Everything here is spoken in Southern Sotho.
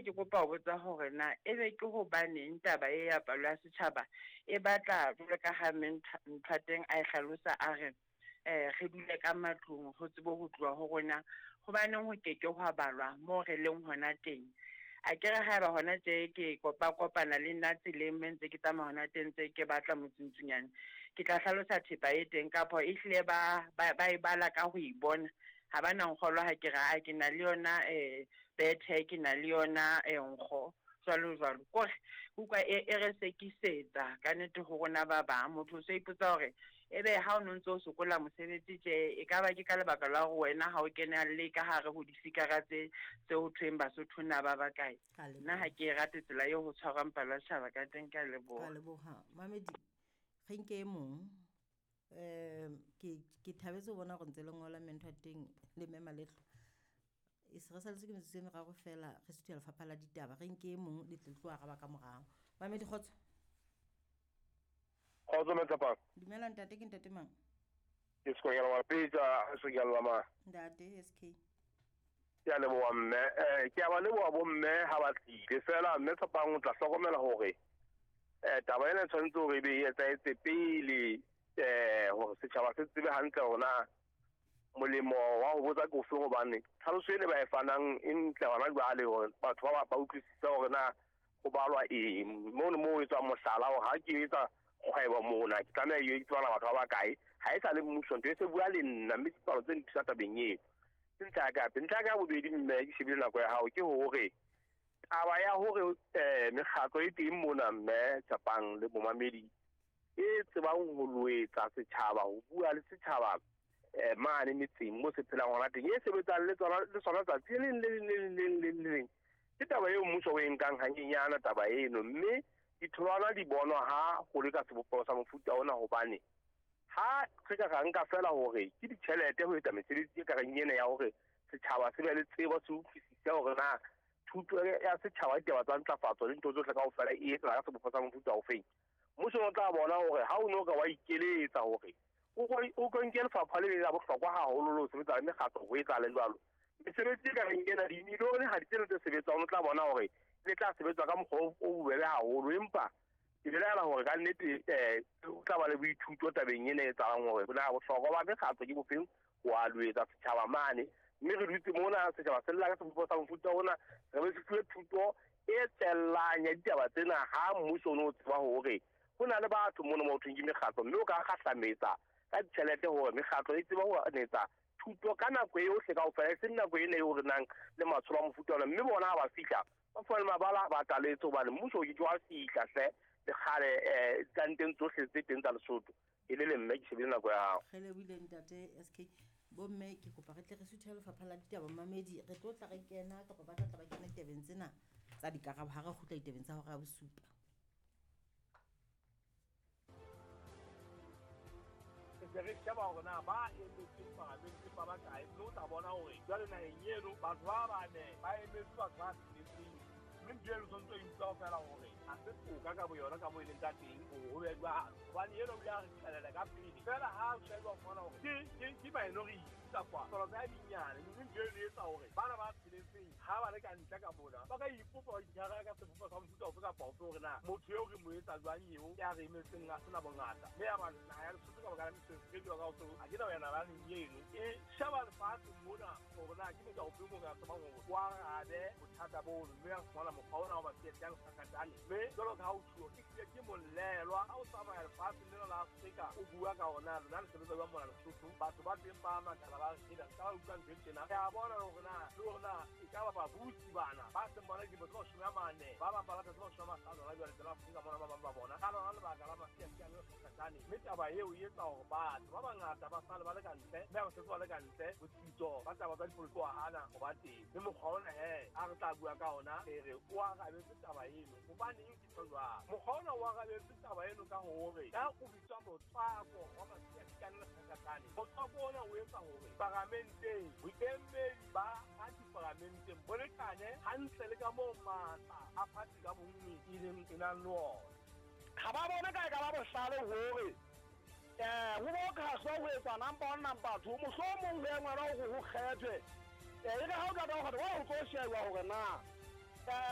ke kopa ho botsa hore na ebe ke hobaneng taba e ya palo ya setjhaba e batla jwalo ka ha mme Nthateng a e hlalosa a re re dule ka matlung ho tsebe ho tluwa ho rona, hobaneng ho ke ke hwa balwa moo re leng hona teng? Akere haeba hona tje ke kopa-kopana le nna tseleng mme ntse ke tsamaya hona teng ntse ke batla motsintsunyane, ke tla hlalosa thepa e teng kapo ehlile ba ba e bala ka ho e bona, ha ba na nkgolwa ha ke re aa ke na le yona bethe, ke na le yona nkgo, jwalo jwalo. Kore utlwa e e re sekisetsa ka nnete ho rona ba bang. Motho o so ipotsa hore ebe ha o no ntso o sokola mosebetsi tje, e ka ba ke ka lebaka la hore wena ha o kenelle ka hare ho difikara tse tse ho thweng Basotho na ba bakae. Ka Nna ha leboha. ke e rate tsela eo ho tshwarwang palo ya setjhaba ka teng, ke a Ka leboha. leboha. Mamedi, re nke e mong. Ke thabetse ho bona hore ntse le ngola mme ntho ya teng le mme Malehlo. E se re saletswe ke metsotso e meraro feela re suthela lefapha la ditaba. Re nke e mong le tle le tlo araba ka morao. Mamedi, kgotso. Kgotso mme Tshepang. Dumela ntate, ke ntate mang? Ke Sekonyela wa Pitsa, Sekonyela ma. Ntate SK. Ke a leboha mme. Ke a ba leboha bo mme ha ba tlile. Feela mme Tshepang o tla hlokomela hore taba ena e tshwanetse hore e be e etsahetse pele hore setjhaba se tsebe hantle hore na molemo wa ho botsa ke ofeng, hobane tlhaloso ene ba e fanang e ntle hona jwale hore batho ba utlwisise hore na ho balwa eng. Mono moo ho etswang mohlala hore ha ke etsa kgwebo mona ke tlameha e tsebana batho ba bakae, ha e sa le mmuso ntho e se bua le nna, mme dipalo tse nthusa tabeng eo. Ke ntlha ya ka hape. Ntlha ya ka ya bobedi mme ke shebile nako ya hao ke hore taba ya hore mekgatlo e teng mona mme Tshepang le bomamedi e tsebang ho loetsa setjhaba, ho bua le setjhaba mane metseng mo se phelang hona teng, e sebetsang le tsona le sona tsatsi le leng le leng le leng le leng le leng. Ke taba eo mmuso o e nkang hanyenyana taba eno, mme ditholwana di bonwa ha ho le ka sebopeho sa mofuta ona, hobane ha re ka ra nka feela hore ke ditjhelete ho etsa mesebetsi e ka reng ena ya hore setjhaba se be le tsebo, se utlwisise hore na thuto ya setjhaba ditaba tsa ntlafatso le ntho tsohle kaofela e etsahala ka sebopeho sa mofuta ofeng. Mmuso o tla bona hore ha o no ka wa ikeletsa hore o ko nke lefapha le la bohlokwa haholo le ho sebetsa le mekgatlo ho etsahale jwalo. Mesebetsi e ka reng ena dimilione ha di tsena tse sebetswang, o tla bona hore le tla sebetswa ka mokgwa o bobebe haholo, empa ke belaela hore ka nnete o tla ba le boithuto tabeng ena e etsahalang hore na bohlokwa ba mekgatlo ke bofeng ho a loetsa setjhaba mane. Mme re dutse mona setjhaba se lla ka sebopeho sa mofuta ona, re be se fuwe thuto e tsellang ya ditaba tsena ha mmuso o no tseba hore ho na le batho mona mo ho thweng ke mekgatlo, mme o ka kgahlametsa ka ditjhelete hore mekgatlo e tsebe ho etsa thuto ka nako eohle kaofela, e seng nako ena eo re nang le matsholo a mofuta ona. Mme bona ha ba fihla ba fumane mabala ba tlaletse, hobane mmuso o ke ke wa fihla hle le kgale ditlanteng tsohle tse teng tsa Lesotho. E le le mme ke shebile nako ya hao. Re lebohile ntate SK. Bomme ke kopa re tle re suthele lefapha la ditaba mamedi, re tlo tla re kena kapa ba tla tla ba kena ditabeng tsena tsa dikarabo ha re kgutla ditabeng tsa hora ya bosupa. Re se re sheba hore na ba emetseng parlamente ba bakae, mme o tla bona hore jwale naheng eno batho ba bane ba emetse batho ba tsheletseng, mme ntho eno tshwanetse o e utlwa feela hore ha se toka ka boyona ka moo e leng ka teng hore ho be jwalo, hobane eno o ile a re qhelela ka pele feela ha o sheba o fumana hore ke minority kapa palo tsa dinyane, mme ntho eno e etsa hore bana ba tsheletseng ha ba le ka ntle ka mona ba ka ipopa ba itshwara ka sebopeho sa mofuta ofe kapa ofe hore na motho eo re mo etsa jwang eo ya re emetseng a sena bongata. Mme ya ba naha ya Lesotho ka baka la mesebetsi e jwang ka ho tseo, ha ke na ho ya nalaneng eno e sheba lefatshe mona hore na ke motho ofe moo re ka tsebang hore o arabe bothata bono, mme a fumana mokgwa ona wa ba siya lekgakatane. Mme jwalo ka ha o tjhuo, e hlile ke molelwa ha o tsamaya lefatsheng lena la Afrika o bua ka hore na lona le sebetsa jwang mona Lesotho, batho ba teng ba makala ba re hela ka ba utlwa ntho e tjena. Re a bona hore na le hore na e ka ba babusi bana ba seng bona dilemo tse 40, ba bang ba batla tse 50 hona jwale tsela Afrika mona, ba bang ba bona ka lona lebaka la masiasiane le lekgakatane. Mme taba eo e etsa hore batho ba bangata ba sale ba le ka ntle, mme ha ba setse ba le ka ntle botsitso ba taba tsa dipolotiki wa hana ho ba teng. Mme mokgwa ona he a re tla bua ka ona, re re o arabetse taba eno. Hobaneng ke tjho jwalo? Mokgwa ona o arabetse taba eno ka hore ka o bitswa motswako wa masiasiane le lekgakatane, motswako ona o etsa hore paramenteng boemedi ba party paramenteng bo lekane hantle le ka moo matla a party ka bonngwe e leng e nang le ona. Ha ba bone ka e ka ba bohlale hore ho bo khahlwa ho etsa number 1 number 2, mohlomong ho engwelwa hore ho kgethwe. E re ha o qeta ho kgetha, wa ho tlo sheba hore na